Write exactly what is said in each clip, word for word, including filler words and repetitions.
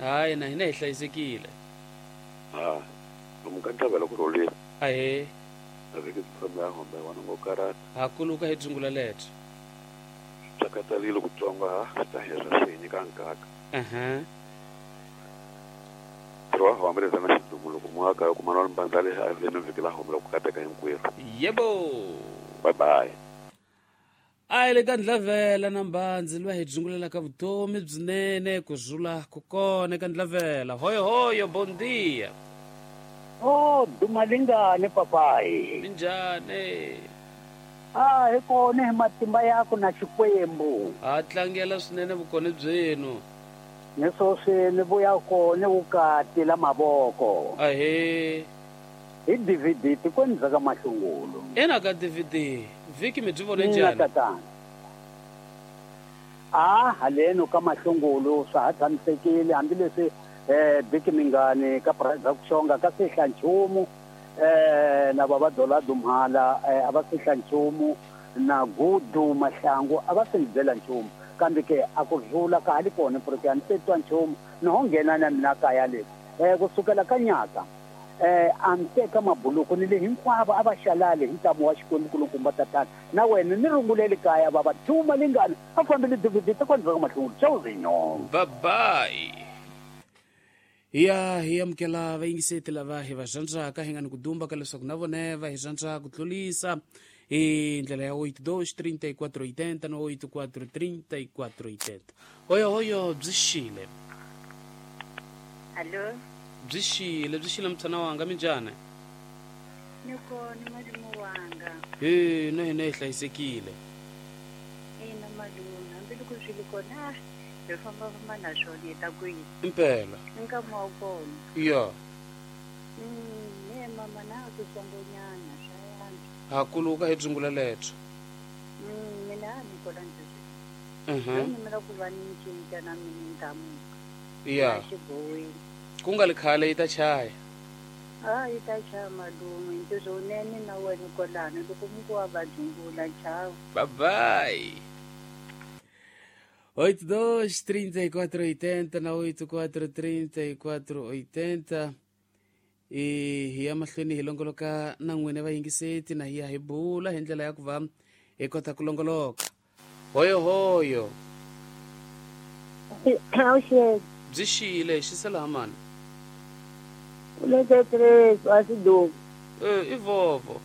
Hayi na hina hi hlayisekile. Ha. Lomu ka ntlhavelo ku rhulile. Ahee. Vhiki byi famba ya hombe wena ngo karata. Ha kuluka hi dzungula lebyo. Tsakatalile ku tsonga ha swi ta hela swi hi nyika nkaka. Aha. Ntirho wa hombe leza na xidumu loko muaka ku mana mbandza le a le vhiki la hombe ku kateka hinkwerhu. Yebo. Bye bye. A hi le ka Ndlavela na Mbhandzi loyi hi dzungulelaka vutomi byinene ku zula ku kona eka Ndlavela. Hoyo hoyo, bon dia. Oh, dumalingane papai. Minjhani? Ah, hi kona hi matimba yako na Xikwembu. Ha tlangela swinene vukona byenu. Ni sweswi ni vuya kona vukati la mavoko. Ahee. Hi D V D tikweni bya ka Mahlungulu. Ena ka D V D vhiki mi byi vone njhani? Tatana. Ah, haleno ka Mahlungulu swa ha tshamisekile hambileswi eh vhiki mingani ka price ku xonga ka sihla nchumu eh na baba Dola Dumhala a va sihla nchumu na Gudu Mahlangu a va si byela nchumu kambe ke a ku rhula ka hali kona porque a ni se twa nchumu ni ho nghena na mina kaya le eh kusukela ka nyaka eh a ni teka mabuluku ni le hinkwavo a va xalale hi ntamu wa Xikwembu kulukumba tatana na wena ni runguleli kaya baba Duma lingana a fambile D V D ta kwandza ka Mahlungulu chauzinyo. Bye bye. Ya hi amukela vayingiseti lava hi va rhandzaka hi nga ni ku dumba ka leswaku na vona va hi rhandza ku tlurisa hi ndlela ya oito dois trinta e quatro oitenta na oito quatro trinta e quatro oitenta. Hoyo hoyo, byi xile. Allo. Byi xile, byi xile mtshana wanga, minjhani? Ni kona malume wanga. He, na hina hi hlayisekile. Ina malume, hambiloko swi ri kona hi famba famba na swona hi ta kwihi? Impela. Nkama wa kona. Ya. Mm, ne mama na ku tsongonyana swa yantswa. Ha kuluka hi dzungula lebyo. Mm, mina a ni kona ndzi. Mhm. Ni mina ku va ni cinca na mina ntamuka. Ya. Xiboweni. Ku nga li khale yi ta chaya. Ah, yi ta chaya malume, ntirho wunene na wena kwalano loko mi ku wa va dzungula chava. Bye bye. oito dois trinta e quatro oitenta na oito quatro trinta e quatro oitenta e hi ya mahlweni hi longoloka na n'wina vayingiseti na hi ya hi bula hi ndlela ya ku va hi kota ku longoloka. Hoyo hoyo. Awuxele. Byi xile, xisela hamani. Eh, i vovo.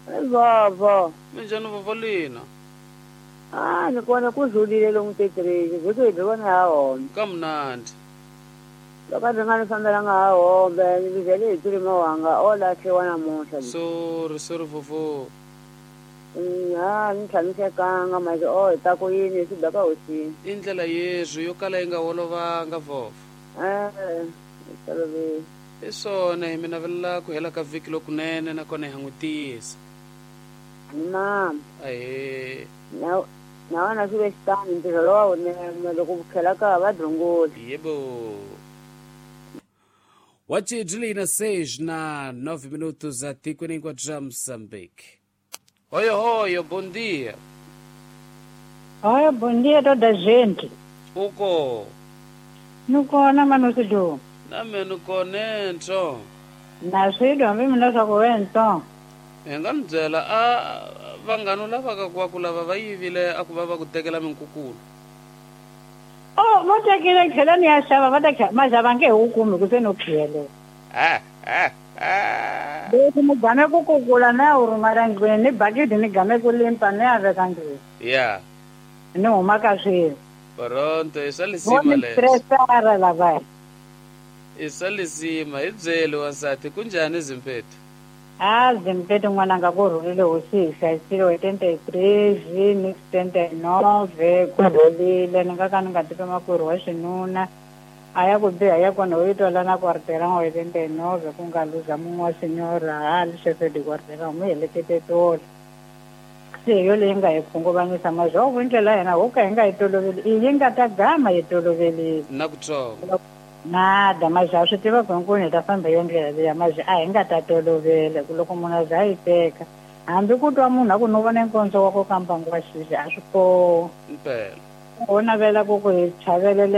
I vovo. Minjhani vovo lina? Ah, ni kona ku zulile lomu tetireki vhiki hi byi vona ha hombe. Ka mnandi. Loko a byi nga ni fambelanga ha hombe ni vhele hi tirima wanga o lahliwa namuntlha. Sorry, sorry vovo. Ha ni tshamisekanga manje o hi ta ku yini swi beka hosini. I ndlela yezwi yo kala yi nga olovanga vovo. Eh, toloveli. I swona hi mi navelela ku hela ka vhiki lokunene nakona hi ha n'wi tiyisa. Mama. Ahee. Na na wena swi ve xitani ntirho lowa wunene loko ku tlhela ka va dzungula. Yebo. Wachidlina seis na nove minutos a tikweni hinkwabyo bya Mozambique. Hoyo hoyo, bom dia. Hoyo, bom dia toda gente. Uko. Ni kona manusido. Na mina ni kona nto. Na swido hambi mina swa ku wento. Hi nga ni byela a vanghana lava ka ku ku lava va yivile a ku va va ku tekela minkukulu. Oh, va tekile tlhela ni ya xava va ta maxava nge he wu kumi ku se no khiyele. Ah, ah, ah. Leswi ni game ku kukula na ya wu rhumela ndlwini ni bakiti ni game ku limpa ni ya veka ndlwini. Ya. Ni huma ka swilo. Pronto, i swa lisima leswi. Stressara lavaya. I swa lisima, hi byeli wansati ku njhani Zimpethu? Ah, Zimpethu n'wananga ku rhulile hosi hi hlayisile oitenta e três, ni setenta e nove, ku rhulile ni nga ka ni nga tivi makwerhu wa xinuna. A ya ku biha ya kona u yi twala na quarteirão oitenta e nove ku nga luza mun'we wa senhora hali chefe de quarteirão mi helekete tolo. Se hi yo leyi nga hi khunguvanyisa mazhovo ndlela ya hina ho ka hi nga yi toloveli i yi nga ta gama yi tolovelile. Na kutsongo. Nada, mas a swi tiva ku hinkwenu hi ta famba yo ndlela liya mazi a hi nga ta tolovela ku loko munhu a za a yi teka hambi ku twa munhu a ku no vona nkondzo wa ku ka mbangu wa xixi a swi koho. Impela. Ho navela ku ku hi chavelela.